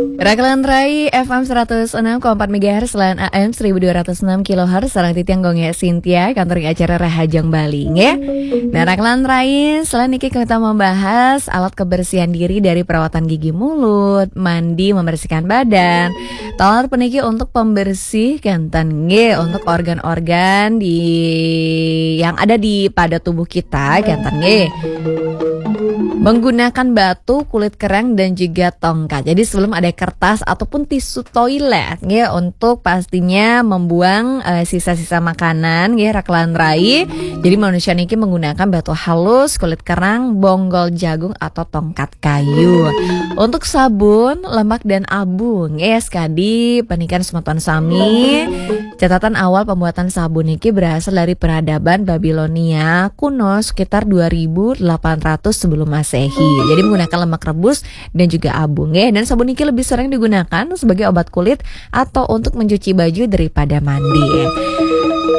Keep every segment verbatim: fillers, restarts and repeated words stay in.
Rakelan Rai F M seratus enam koma empat megahertz lan A M seribu dua ratus enam kilohertz, sareng titiang Gung Gé Sintia, kantor acara Rahajeng Bali, nggih. Nah, Rakelan Rai, selain niki kita membahas alat kebersihan diri dari perawatan gigi mulut, mandi, membersihkan badan. Taler puniki untuk pembersih kenten nggih, untuk organ-organ di yang ada di pada tubuh kita kenten nggih. Menggunakan batu, kulit kerang, dan juga tongkat. Jadi sebelum ada kertas ataupun tisu toilet nggih, untuk pastinya membuang eh, sisa-sisa makanan nggih, Rakelan Rai. Jadi manusia niki menggunakan batu halus, kulit kerang, bonggol jagung, atau tongkat kayu. Untuk sabun, lemak, dan abu nggih, sekadi panikan semeton sami. Catatan awal pembuatan sabun niki berasal dari peradaban Babilonia kuno sekitar dua ribu delapan ratus sebelum Masehi. Jadi menggunakan lemak rebus dan juga abu nggih. Dan sabun niki lebih sering digunakan sebagai obat kulit atau untuk mencuci baju daripada mandi.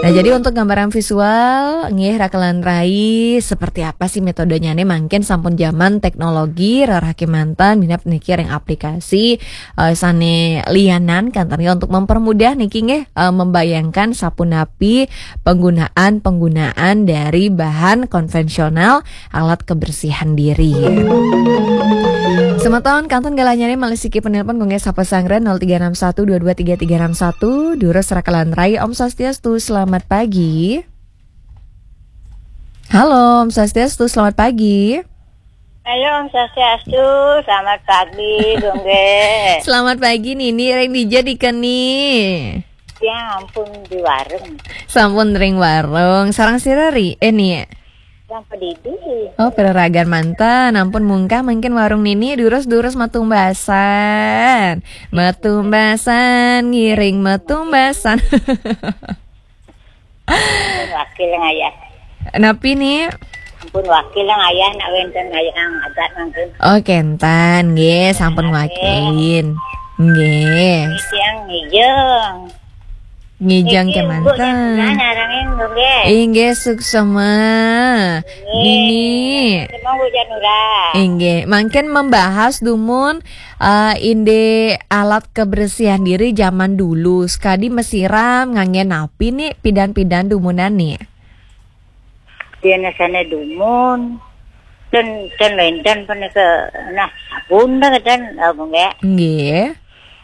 Nah, jadi untuk gambaran visual nggih, Rakelan Rai, seperti apa sih metodenya nih? Mungkin sampun zaman teknologi, rerah kemanten, minab niki ring aplikasi eh, sane lianan kenten nggih, untuk mempermudah niki nggih, eh, membayangkan sapunapi penggunaan-penggunaan dari bahan konvensional alat kebersihan diri. Semeton kantun galahnyane malih siki penelpon, Gung Gé sapa sanggra nol tiga enam satu dua dua tiga tiga enam satu, durus Rakelan Rai. Om Swastiastu, selamat pagi. Halo, Om Swastiastu, selamat pagi. Halo, Om Swastiastu, selamat pagi, Gung Gé. Selamat pagi Nini, ring dija dikeni? Ya ampun, di warung. Sampun ring warung. Sareng sira Ri? Eh Ni. Yang pedidi. Oh, pereragan manten. Ampun mungkah mungkin warung Nini, durus-durus matumbasan. Matumbasan, ngiring matumbasan. Wakil ngayah. Napi Ni? Ampun, wakil ngayah, nak wenten ngayah adat mangkin. Oh, kenten nggih, sampun wakilin. Nggih. Siang ngijeng. Ngijeng Niki kemanten. Nah, narangin Gung Gé. Inggih, suksema. Nini. Semua hujan ura. Inggih, mangkin membahas dumun eh, inde alat kebersihan diri zaman dulu. Sekadi mesiram ngangge napi Ni, pidan-pidan dumunan Ni? Dia nasane dumun. Dan dan lendan pun ke nah sabun dah kan, Gung Gé. Nggih.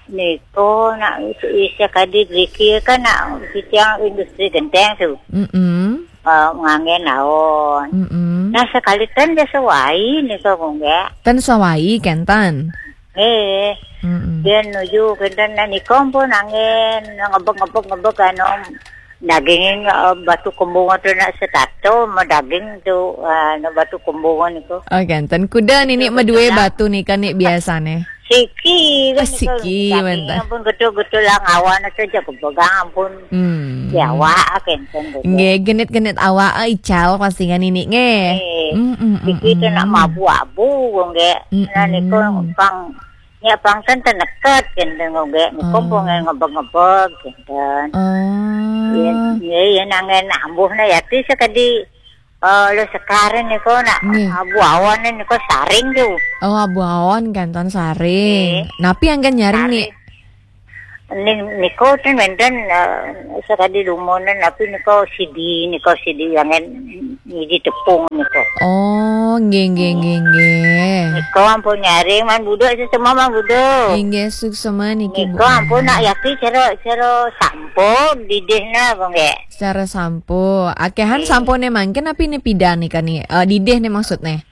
Niko nak isa kadi driki kan nak sitiang industri genteng tu. Mm-mm. Uh, ngangge naon. Mm-mm. Nah, sekali ten dia sewai niko, Gung Gé. Ten sawai kenten. Eh, Mm-mm. dia nuju kenten, nah niko pun angin ngebek-ngebek-ngebek anu daging, eh, batu kembung tu nak setato sama daging tu, ah, nak batu kembung niko. Oh kenten. Kuda Nini medue batu nika Ni biasane? Siki kan Ah, siki, daging mantap. Ampun getul-getul lah ngawan saja kepegang ampun. Hmm. Jawa kenten. Nggih, genit-genit awak eh, ical pasti kan Nini nggih. Eh, Mm-mm, Siki tu nak mm-mm. mabu-abu, Gung Gé. Nah, Mm-mm. niko pang, ya pang kan teneket kenten, Gung Gé. Niko Oh. pun ngebek-ngebek kenten. Ya, Oh. ya, ya nangen ambuh na ya tu sekadi, eh, lo sekarin niko nak Nggih. abu awan niko saring tu. Oh, abu awan kenten saring. Napi anggen nyaring Ni? Ni niko ten wenten, eh, sekadi dumunan, tapi niko sidi, niko sidi yang ngiji tepung niko. Oh, nggih nggih nggih nggih. Niko ampun nyaring man buduk sesama man buduk. Inggih suksema niki Bu. Niko ampun nak yaki cara cara sampo didih na, Gung Gé. Secara sampo. Akehan sampone mangkin napi Ni, pidan nika Ni? Eh, didih Ni maksudne?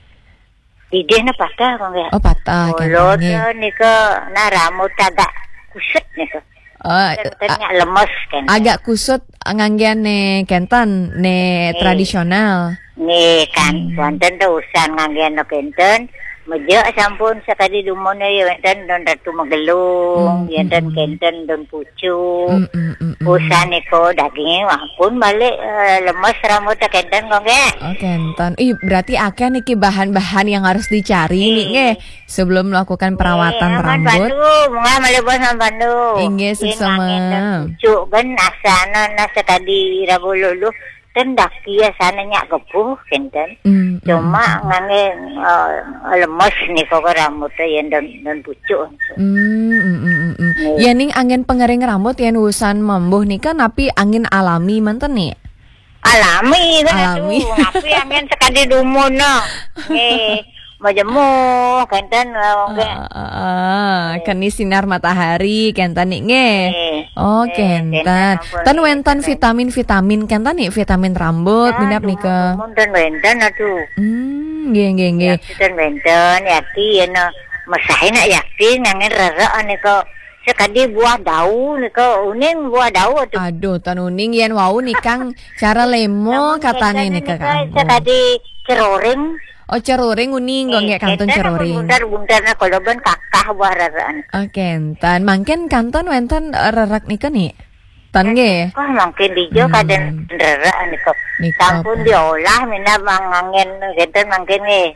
Didih na patah, Gung Gé. Oh, patah Mulut kenten nggih. Niko nah rambut agak kusut niko. Oh, Kan nak lemes kan. agak kusut nganggean ne kenten ne tradisional. Nih kan, wonten tu usan nganggean kenten. Meja sampun sekadi dumun ya wonten don Ratu Magelung, Hmm, ya don hmm. Kenten don Pucuk. Mm, mm, mm, mm. Usan niko daging ampun balik, eh, lemes rambut kenten, Gung Gé. Oh, kenten. Ih, berarti akeh niki bahan-bahan yang harus dicari nih, nggih. Sebelum melakukan perawatan Eh, aman rambut. Pandu, mungkin malih bos aman Pandu. Inggih, suksema. Pucuk kan asana nasa tadi rabu lulu. ten daki ya sana nyak gebuh kenten. Hmm, hmm, Cuma hmm. ngangge eh, lemes niko ke rambut ya dan dan pucuk. Hmm, hmm, hmm, hmm, hmm. Nggih. Ya ning angin pengering rambut yen usan mambuh nika napi angin alami manten nih? Alami kan Alami. Atuh. Napi angin sekadi dumun no. Nggih, majemuh kenten eh, nggih. Ah, ah, ah. Nggih. Keni sinar matahari kenten nih nggih. Nggih. Oh, Nggih, kenten. kenten ampun, Ten nggih, wenten kenten. vitamin-vitamin kenten nih, vitamin rambut, Nah, minap dumun, nika. dumun ten wenten atuh. Hmm, nggih, nggih, nggih. Yakti ten wenten, yakti yen mesahin nak yakti ngangin rerek nika. Sekadi buah dau nika, uning buah dau atuh. Aduh, ten uning yen wau nikang cara lemo Namun katane kenten nika nika kanggo. sekadi ceroring. Oh, ceroring uning, nggih, kantun kenten ampun ceroring. Buntar-buntar nah, kalau ben kakah buah rerek nika. Oh, kenten. Mangkin kantun wenten eh, rerek nika nih. Ten nggih. Kah mangkin dija Hmm. kaden rerek nika. Nika Sampun apa? diolah minab mangangin kenten mangkin nggih.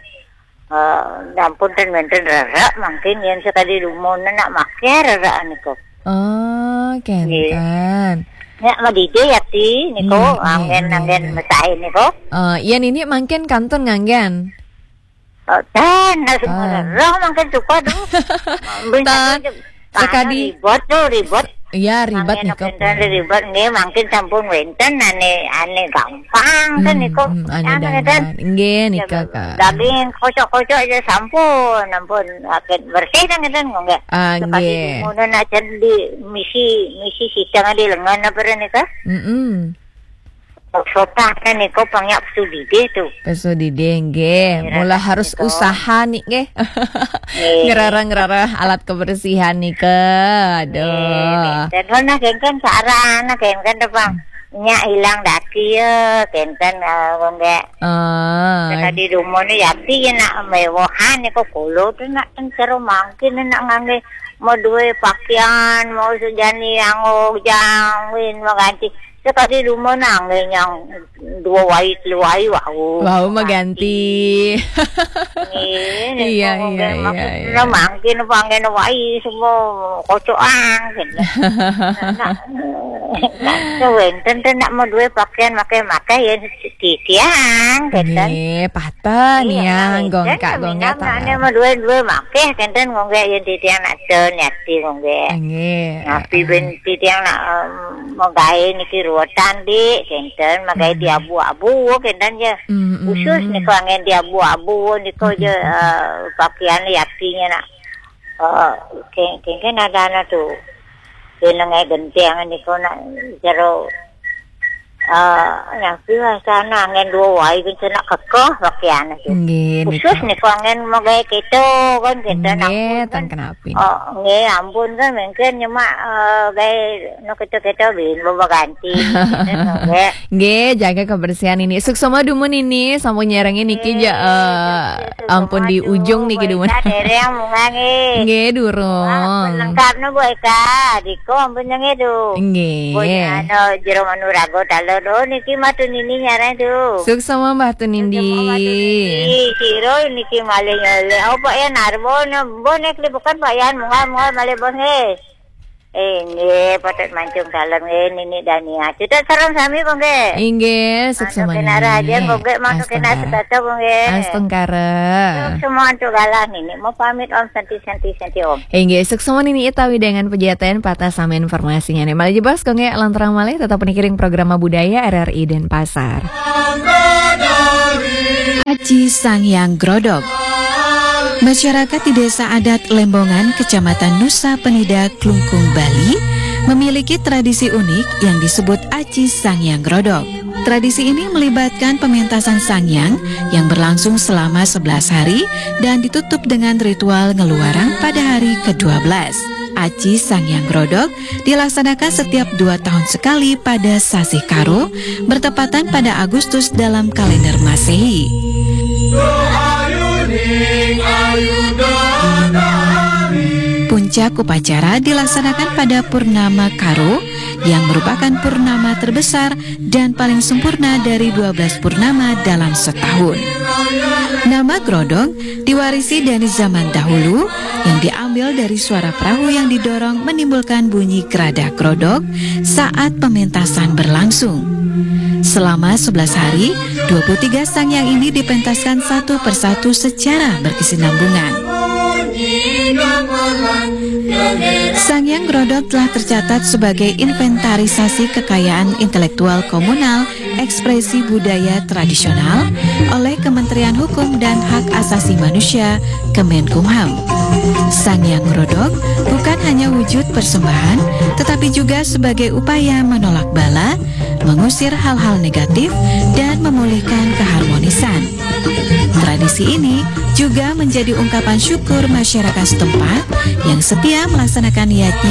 Eh, sampun ten wenten rerek mangkin yen sekadi dumun nak make rerek nika. Oh, Nggih. kenten. Nya madija yakti niko Iya, iya, anggen iya, anggen iya. mesahin niko. Eh, yen ini mangkin kantun nganggen. Oh, tan, nah, semua Ah. rerek mangkin suka tuh. Tan, Bencana je- sekadi- ribet tuh, ribet. Iya, ribet Mangkin nika, kenten Pak. ribet nggih, mangkin sampun wenten ane ane gampang kan Hmm, niko. hmm, ane Anu dandan. kan. Nggih, nika, Kak. Daging kocok-kocok aja sampun, ampun. Akhir bersih kan ngeten kok nggih. Ah, Sekadi nggih. dumun nak di misi misi sitang di lengan apa nika? Mm-mm. Sotah kan niko pangyak sudide tuh. Peso dide nggih, Iya, mula rasa harus niko. usaha nih nggih. Nggih. Ngerara-ngerara alat kebersihan nih ke. Aduh. Nggih, dan nah kan kan sarana kan kan depan. Nya hilang daki ya, kenten eh, kok nggih. Ah. Tadi dumun ni yakti ya nak mewahan niko kulo tuh nak encero mangkin nak ngangge mau duwe pakaian, mau sejani yang jangwin mau ganti. Sekadi dumun nangge yang dua wai telu wai wau. Wau maganti. Nggih, Iya, niko iya, nggih, iya, maksudnya iya. mangkin apa anggen wai semua kocokan gitu. Nak, nak, nak, wenten ten nak mau duwe pakaian makai-makai ya titiang gitu. Nggih, patah Iya, niang kan, gongkak kan, gongkak minam nak tanah. ane mau duwe-duwe makai kenten ngongge ya titiang nak ten yakti ngongge. Nggih. Ngapi Ah, ben titiang nak em, mau gawe niki ruwetan dik kenten, mau gawe Hmm. di abu-abu kenten ya. Hmm, hmm. Khusus niko anggen di abu-abu niko Hmm, je hmm, hmm. eh, pakaian yaktinya nak. Eh, ke- kenten ada anak tuh. Kena ngai genteng niko nak jero eh yang piwasana anggen dua wai kenten nak kekeh pakaian tuh. Nggih, Khusus niko. niko anggen mau gawe keto kan kenten Nggih, ampun ten kan. kenapi. Oh, nggih ampun kan mungkin nyemak eh, gawe no keto-keto bin bobo ganti. Kenten nggih. Nggih, jaga kebersihan ini. Suksma dumun ini, sampun nyerengin niki ja, Nggih, eh, suksma ampun di dumun, ujung niki Bu dumun. Eka dereng munggah nggih. Nggih, durung. Wah, lengkap no Bu Eka, diko ampun nggih du. Nggih. Pun anu jero manuraga talon. Oh, niki matu nini nyarang tu. Suksma Mbah Tunindi. Suksma Mbah Tunindi. Siro niki malih nyelek. Oh, Pak Yan Arbo, no, Mbah nek libukan Pak Yan, munggah, munggah malih Bos nggih. Inggih, patut mancung salam nggih Nini Dania. Cucuk salam sami kok nggih. Inggih, Mantuk suksma kena raja Nini. Kok nggih, mantuk kena Astungkara. Setata kok nggih. Astungkara. Suksma antuk galah Nini. Mau pamit Om Santi Santi Santi Om. Inggih, suksma Nini utawi dengan pejaten patah sami informasinya nih. Malih jebos kok nggih lanturang malih tetap nikiring programa budaya R R I Denpasar. Aci Sangyang Grodok. Masyarakat di Desa Adat Lembongan, Kecamatan Nusa Penida, Klungkung, Bali, memiliki tradisi unik yang disebut Aci Sangyang Grodok. Tradisi ini melibatkan pementasan Sangyang yang berlangsung selama sebelas hari dan ditutup dengan ritual ngeluarang pada hari kedua belas. Aci Sangyang Grodok dilaksanakan setiap dua tahun sekali pada sasih Karo, bertepatan pada Agustus dalam kalender Masehi. Puncak upacara dilaksanakan pada Purnama Karo, yang merupakan purnama terbesar dan paling sempurna dari dua belas purnama dalam setahun. Nama Grodok diwarisi dari zaman dahulu, yang diambil dari suara perahu yang didorong menimbulkan bunyi geradak grodok saat pementasan berlangsung. Selama sebelas hari, dua puluh tiga sangyang ini dipentaskan satu persatu secara berkesinambungan. Sangyang Grodok telah tercatat sebagai inventarisasi kekayaan intelektual komunal ekspresi budaya tradisional oleh Kementerian Hukum dan Hak Asasi Manusia, Kemenkumham. Sangyang Grodok bukan hanya wujud persembahan, tetapi juga sebagai upaya menolak bala, mengusir hal-hal negatif, dan memulihkan keharmonisan. Tradisi ini juga menjadi ungkapan syukur masyarakat setempat yang setia melaksanakan yajna